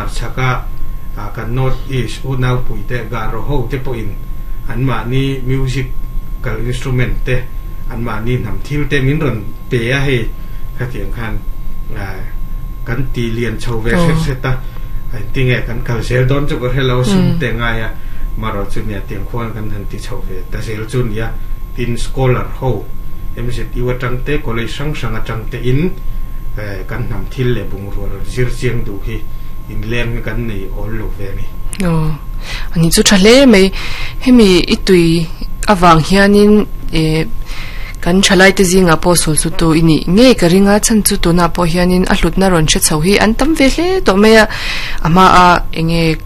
Hmarchhaka kan North East unaupuite Garo ho te pawhin anmahni musical instrument te, anmahni hnam thil te min rawn pe a hei khatiang khan kan ti lian chho ve hret hret a, engtinge kan kal zel dawn chu ka hre lo sum te ngai a, marawh chu nia tiang khuan kan han ti chho ve ta zel chu nia, tin scholar ho MZU atang te college hrang hrang atang te in kan hnam thil leh bungrua rawn zir chiang duh hi inleng hi kan nei awl lo ve a ni. Aw, ani chu tha hle mai. Hemi i tui avang hianin eh kan thalaite zingah pawh sul chu tu i nih ngei ka ring a, chhan chu tunah pawh hianin a hlutna rawn hre chho hi an tam ve hle tawh mai a, a hmaa enge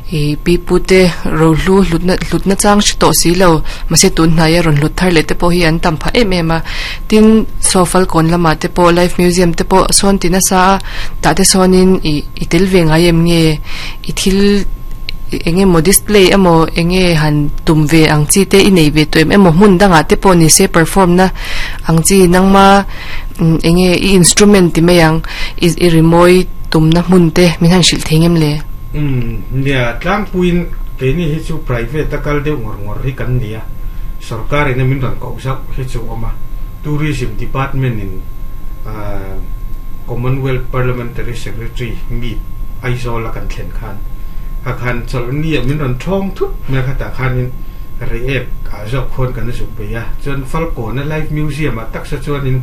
Ih pi pu te rohlu hlutna hlutna chang hre tawh si lo mahse tun hnaia rawn hlut thar leh te pawh hi an tam phah em em a tin saw falkawn lamah te pawh life museum te pawh sawn ti nasa a tah te sawnin ih i tel ve ngai em nge i thil eng emaw display emaw eng nge han tum ve ang chi te i nei ve tawh em emaw hmun dangah te pawh ni se perform na ang chi nangma eng nge i instrument ti mai ang i i rimawi tumna hmun te min han hrilh thei ngem le. Umm, nia, tlangpuiin keini hi chu private a kal deuh ngawr ngawr hi kan nia, sorkar in a min rawn koh zauh hi chu awm a, Tourism Department in Commonwealth Parliamentary Secretary meet Aizawl a kan thlen khan kha khan chawlh nia min rawn thawng thut mai a, khatah khanin Reiek ah zawk khuan kan zuk bei a, chuan Falkawn a Live Museum ah taksa chuanin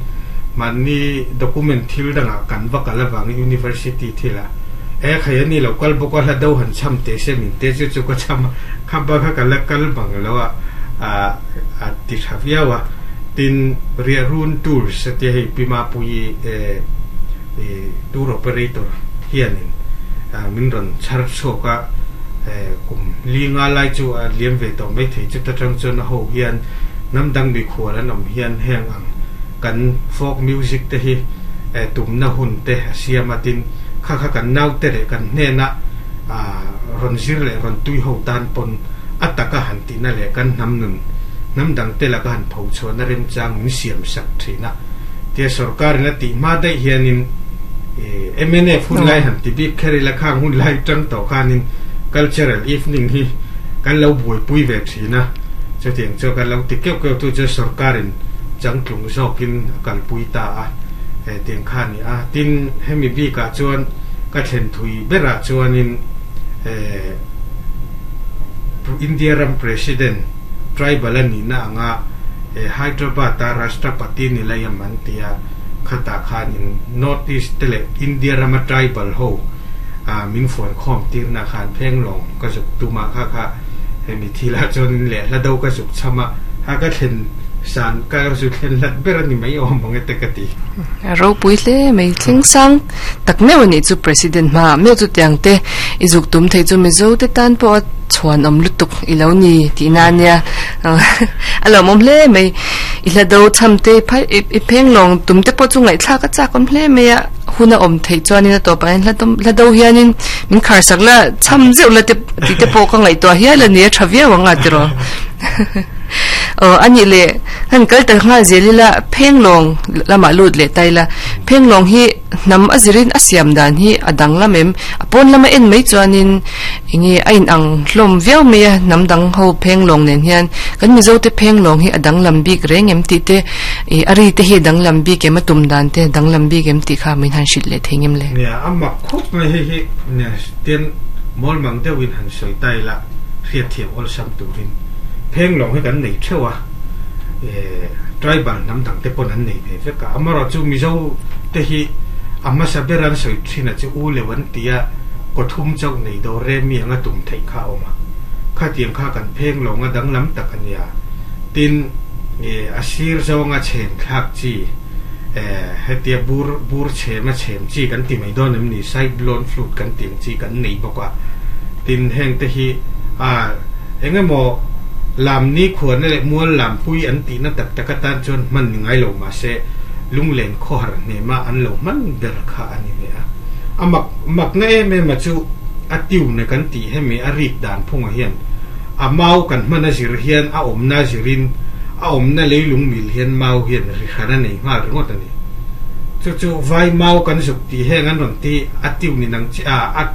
mahni document thil dangah kan va kal avangin University thil ah E khai a ni lo kal bawk a hla do han cham teh se min te chu chu ka cham a, kha ba kha ka la kal bang lo a a ti tha viau a, tin Riahrun Tours a tia hei Pi Mapuii e tour operator hianin min rawn chhar chhuak a, kum li nga lai chu a liam ve tawh mai thei chuta tang chuan a ho hian hnam dang mikhual an awm hian heng ang kan folk music te hi tumna hun te a siam a tin Kha kha kan naute leh kan hnena rawn zir leh rawn tui ho tan pawn a taka han tihna leh kan hnam nun hnam dangte laka han pho chhuahna remchang min siam sak thin a. Tia sorkarin a tih hma daih hianin mnf hun lai han ti bik kher ila khang hun lai tang tawh khanin cultural evening hi kan lo buaipui ve thin a. Chutiang chu kan lo ti keuh keuh tu chu sorkarin changtlung zawkin a kalpui ta a tiang kha a ni. A, tin, hemi bikah chuan ka thlen thui berah chuanin eh India ram President tribal a nihna anga eh Hyderabad-a Rashtrapati Nilayam an ti a, khatah khanin North East te leh India rama tribal ho ah min fuan khawm tirna khan phenglawng ka zuk tum a, kha kha hemi thilah chuanin leh hla do ka zuk cham a, ha ka thlen san ka zu thlen hlat ber a ni mai awm ang e te ka ti. A ropui hle mai thleng sang tak meuh a nih chu President hmaah meuh chu tiang te i zuk tum thei chu Mizo te tan pawh a chhuanawm lutuk i lo ni tihna a nia a lawmawm hle mai i hla do cham te i pheng lawng tum te pawh chu ngaihthlak a chak awm hle mai a hun a awm theih chuanin a tawpah hian hla do hianin min kharsak la cham zeuh la te tih te pawh ka ngaihtuah hial a ni a tha viau ang a tiraw. Aw a nih leh han kal ta nghal zel ila phenglawng lamah lut leh ta ila phenglawng hi hnam a zirin a siam dan hi a dang lam em a pawn lama en mai chuanin eng nge a inang hlawm viau mai a hnam dang ho phenglawng nen hian kan mizo te phenglawng hi a danglam bik reng em tih te ih a ri te hi a danglam bik em a tum dan te a danglam bik em tih kha min han hrilh leh thei ngem le. Nia a mak khawp mai hei hi nia tian mawl mang deuhin han sawi ta ila. Hriatthiam awlsam turin phenglawng hi kan nei theuh a, tribal hnam dang te pawn an nei ve vek a. Amaherawhchu Mizo te hi a hmasa ber an sawi thin a chu u leu an ti a, kawthum chauh nei dawr remi anga tum theih kha a awm a. Khatiang kha kan phenglawng a danglam tak a nia. Tin, a sir zawnga chhem thlak chi, hetia bur bur chhem a chhem chi kan ti mai dawn em ni, side blown flute kan tih ang chi kan nei bawk a. Tin, heng te hi a eng emaw lam ni khuana leh mual lam pui an tihna tak tak atan chuan hman ni ngai lo mahse lunglen khawhar hnema an lo hman ber kha a ni ve a. A mak makna em em a chu a tune kan tih hemi a rik dan phungah hian a mau kan hman a zir hian a awmna zirin a awmna leilung mil hian mau hian ri hran a nei nghal ringawt a ni. Chu chu vai mau kan zuk tih heng an rawn ti a tune in ang chi a.